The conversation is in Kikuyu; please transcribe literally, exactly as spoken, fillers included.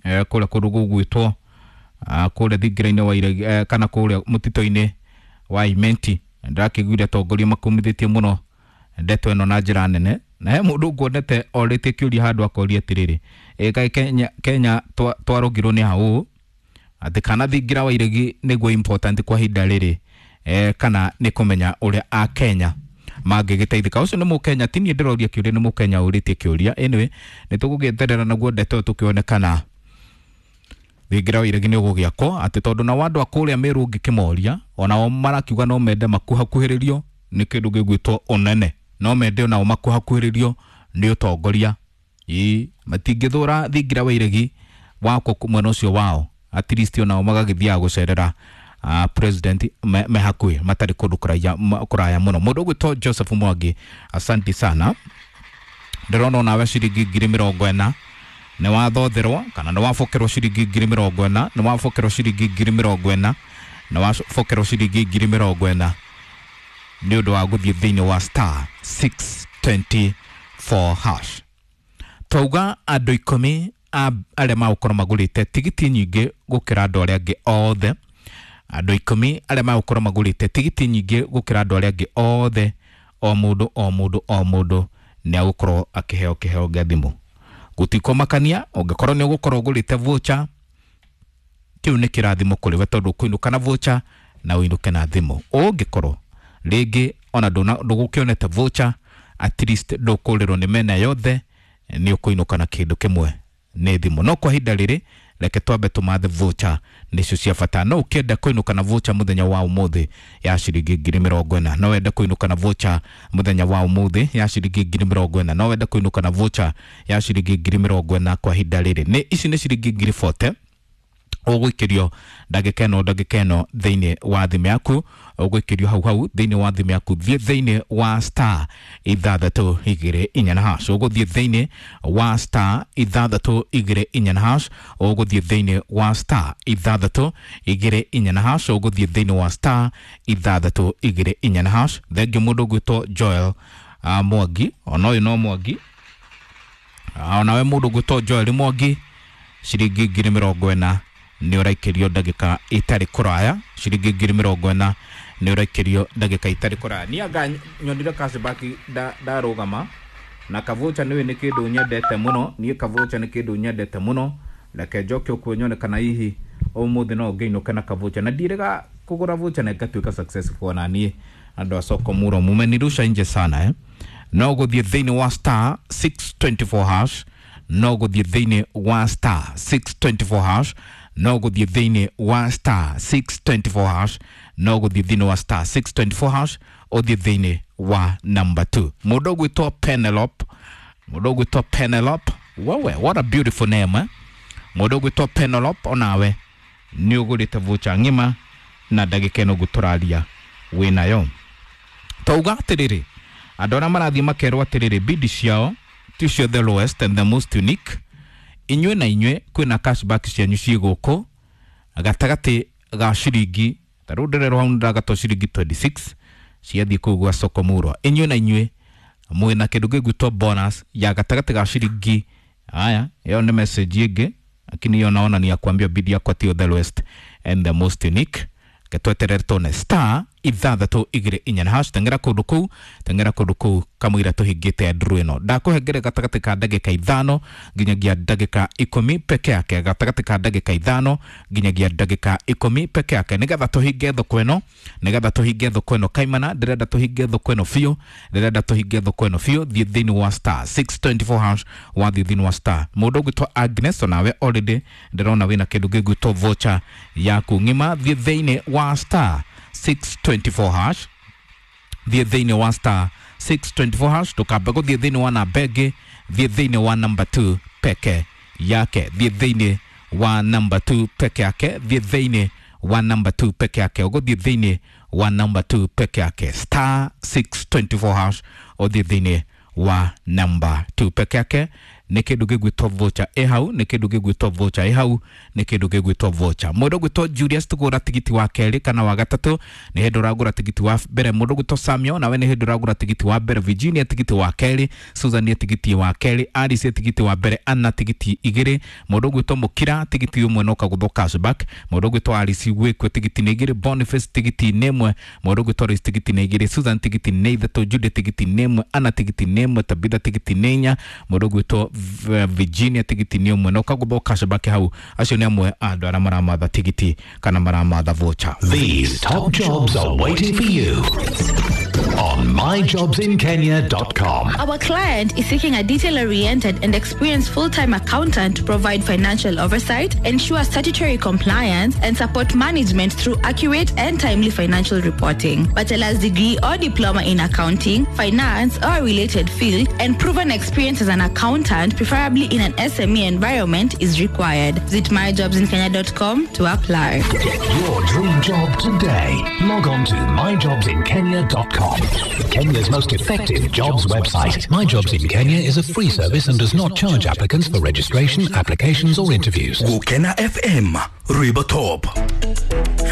eh, kũrĩa kũndũ gũgwĩtwo kũrĩa thingira-inĩ wa iregi eh, kana kũrĩa mũtitũ-inĩ wa Imenti. Ndĩrakĩiguire atongoria makumithĩtie mũno ndeto ĩno na njĩra nene, na he mũndũ nguonete orĩtie kĩũria handũ akoria atĩrĩrĩ, ĩ kaĩ Kenya, Kenya twarũngirwo nĩ hau atĩ kana thingira wa iregi nĩguo important kwa ihinda rĩrĩ eh, kana nĩ kũmenya ũrĩa a Kenya mangĩgĩteithĩka. Ũcio nĩ mũkenya, ti niĩ ndĩroria kĩũria, nĩ mũkenya ũrĩtie kĩũria. Anyway, nĩ tũgũgĩeterera naguo ndeto ĩyo tũkĩone kana thingira wa iregi nĩ ũgũgĩakwo, atĩ tondũ nao andũ a kũrĩa Meru ũngĩkĩmoria onao marakiuga no mende makuhakuhĩrĩrio nĩ kĩndũ gĩgwĩtwo ũnene, no mende onao makuhakuhĩrĩrio nĩ ũtongoria. Ĩĩ, matingĩthũra thingira wa iregi wakwo mwena ũcio wao, at least onao magagĩthiaga gũcerera uh, president me, me hakuhĩ matarĩ kũndũ kũraya kũraya mũno. Mũndũ ũgwĩtwo Joseph Mwangi, asante sana. Ndĩrona onawe ciringi ngiri mĩrongo ĩna nĩ wathotherwo kana nĩ wabokerwo ciringi ngiri mĩrongo ĩna, nĩ wabokerwo ciringi ngiri mĩrongo ĩna, nĩ wabokerwo ciringi ngiri mĩrongo ĩna nĩ ũndũ wa gũthiĩ thĩinĩ wa star six twenty four hash. Twauga andũ ikũmi arĩa magũkorwo magũrĩte tigiti nyingĩ gũkĩra andũ arĩa angĩ othe, andũ ikũmi arĩa magũkorwo magũrĩte tigiti nyingĩ gũkĩra andũ arĩa angĩ othe, o mũndũ o mũndũ o mũndũ nĩ agũkorwo akĩheo kĩheo gĩa thimũ. Gũtikũmakania ũngĩkorwo nĩ ũgũkorwo ũgũrĩte voucher, kĩu nĩ kĩrathimo kũrĩ we tondũ ũkũinũka na voucher na ũinũke na thimũ. Ũngĩkorwo rĩngĩ ona ndũgũkĩonete voucher, at least ndũkũrĩrwo nĩ mena yothe, nĩ ũkũinũka na kĩndũ kĩmwe nĩ thimũ. No kwa ihinda rĩrĩ reke twambe tũmathe voucher nĩcio cia bata. No ũkĩenda kũinũka na voucher mũthenya wa ũmũthĩ ya ciringi ngiri mĩrongo ĩna, no wende kũinũka na voucher mũthenya wa ũmũthĩ ya ciringi ngiri mĩrongo ĩna, no wende kũinũka na voucher ya ciringi ngiri mĩrongo ĩna kwa ihinda rĩrĩ. Nĩ ici nĩ ciringi ngiri forty ũgũikĩrio ndagĩka ĩno ndagĩka ĩno thĩinĩ wa thimũ yaku, ũgũikĩrio hau hau thĩinĩ wa thimũ yaku. Thiĩ thĩinĩ wa star ithathatũ igĩrĩ inya na hash, ũgũthiĩ thĩinĩ wa star ithathatũ igĩrĩ inya na hash, ũgũthiĩ thĩinĩ wa star ithathatũ igĩrĩ inya na hash, ũgũthiĩ thĩinĩ wa star ithathatũ igĩrĩ inya na hash. Thengiũ mũndũ ũgwĩtwo Joel uh, Mwangi, ona ũyũ no Mwangi, uh, onawe mũndũ ũgwĩtwo Joel Mwangi, ciringi ngiri mĩrongo ĩna nĩ ũraikĩrio ndagĩka itarĩ kũraya, ciringi ngiri mĩrongo ĩna nĩ ũraikĩrio ndagĩka itarĩ kũraya. Niĩ anga nyonire cashback ndarũgama na kavocha nĩwe nĩ kĩndũ nyendete mũno, niĩ kavocha nĩ kĩndũ nyendete mũno. Reke njoke ũkuo nyone kana hihi ũmũthĩ no ngĩinũke na kavocha, na ndirĩga kũgũra vocha na ngatuĩka successful ona niĩ. Andũ a soko muro mumenirusha nje sana eh? No gũthiĩ thĩinĩ wa star six twenty four hash, no gũthiĩ thĩinĩ wa star six twenty four hash, no gũthiĩ thĩinĩ wa star six twenty four hash, no gũthiĩ thĩinĩ wa star six twenty four hash, ũthiĩ thĩinĩ wa number two. Mũndũ ũgwĩtwo Penelope, mũndũ ũgwĩtwo Penelope, wewe what a beautiful name eh? Mũndũ ũgwĩtwo Penelope onawe nĩ ũgũrĩte voucher ng'ima na ndagĩka ĩno ngũtũraria wĩnayo. Twauga atĩrĩrĩ, andũ arĩa marathiĩ makerwo atĩrĩrĩ bidi ciao ticio the lowest and the most unique, inyuĩ na inyuĩ kwĩna cashback cianyu ciĩ gũkũ gatagatĩ ga ciringi ta rĩu ndĩrerwo hau nĩndagatwo ciringi twenty six ciathiĩ kũu gwa soko murwa. Inyuĩ na inyuĩ mwĩna kĩndũ gĩgwĩtwo bonus ya gatagatĩ ga ciringi. Haya, ĩyo nĩ message ĩngĩ, lakini hiyo naona ni ya kuambia bidi yakwa tio the lowest and the most unique. Getweterere tone star ithathatũ igĩrĩ inya na hash. Teng'era kũndũ kũu, teng'era kũndũ kũu kamũira tũhingĩte nduru ĩno. Ndakũhengere gatagatĩ ka ndagĩka ithano nginyagia ndagĩka ikũmi peke yake, gatagatĩ ka ndagĩka ithano nginyagia ndagĩka ikũmi peke yake, nĩgetha tũhinge thoko ĩno, nĩgetha tũhinge thoko ĩno kaimana. Ndĩrenda tũhinge thoko ĩno biũ, ndĩrenda tũhinge thoko ĩno biũ. Thiĩ thĩinĩ wa star six twenty four hash, wathiĩ thĩinĩ wa star. Mũndũ ũgwĩtwo Agnes onawe already ndĩrona wĩna kĩndũ gĩgwĩtwo voucher yaku ng'ima. Thiĩ thĩinĩ wa star six twenty four hash, thiĩ thĩinĩ wa star six twenty four hash, ndũkambe gũthiĩ thĩinĩ wa namba ĩngĩ, thiĩ thĩinĩ wa number two peke yake, thiĩ thĩinĩ wa number two peke yake, thiĩ thĩinĩ wa number two peke yake, ũgũthiĩ thĩinĩ wa number two peke yake, star six twenty four hash, ũthiĩ thĩinĩ wa number two peke yake. Nĩ kĩndũ gĩgwĩtwo voucher ĩ hau, nĩ kĩndũ gĩgwĩtwo voucher ĩ hau, nĩ kĩndũ gĩgwĩtwo voucher. Mũndũ ũgwĩtwo Julius tũgũra tigiti wa kerĩ kana wa gatatũ, nĩ hĩndĩ ũragũra tigiti wa mbere. Mũndũ ũgwĩtwo Samuel nawe nĩ hĩndĩ ũragũra tigiti wa mbere. Virginia tigiti wa kerĩ, Susan tigiti wa kerĩ, Alice tigiti wa mbere, Anna tigiti igĩrĩ. Mũndũ ũgwĩtwo Mũkira tigiti ũmwe na ũkagũthwo cashback. Mũndũ ũgwĩtwo Alice Gwĩkwe tigiti nĩ igĩrĩ, Boniface tigiti nĩ ĩmwe, mũndũ ũgwĩtwo Lois tigiti nĩ igĩrĩ, Susan tigiti nĩ ithatũ, Judy tigiti nĩ ĩmwe, Anna tigiti nĩ ĩmwe, Tabitha tigiti nĩ inya, mũndũ ũgwĩtwo Virginia tigiti nĩ ũmwe na ũkagũthwo cashback hau. Acio nĩ amwe a andũ arĩa maramatha tigiti kana maramatha voucher. These top jobs are waiting for you on my jobs in kenya dot com. Our client is seeking a detail-oriented and experienced full-time accountant to provide financial oversight, ensure statutory compliance, and support management through accurate and timely financial reporting. Bachelor's degree or diploma in accounting, finance, or a related field, and proven experience as an accountant, preferably in an S M E environment, is required. Visit my jobs in kenya dot com to apply. Get your dream job today. Log on to my jobs in kenya dot com. Kenya's most effective jobs website. My Jobs in Kenya is a free service and does not charge applicants for registration, applications or interviews. Gukena F M, Rwimbo Top.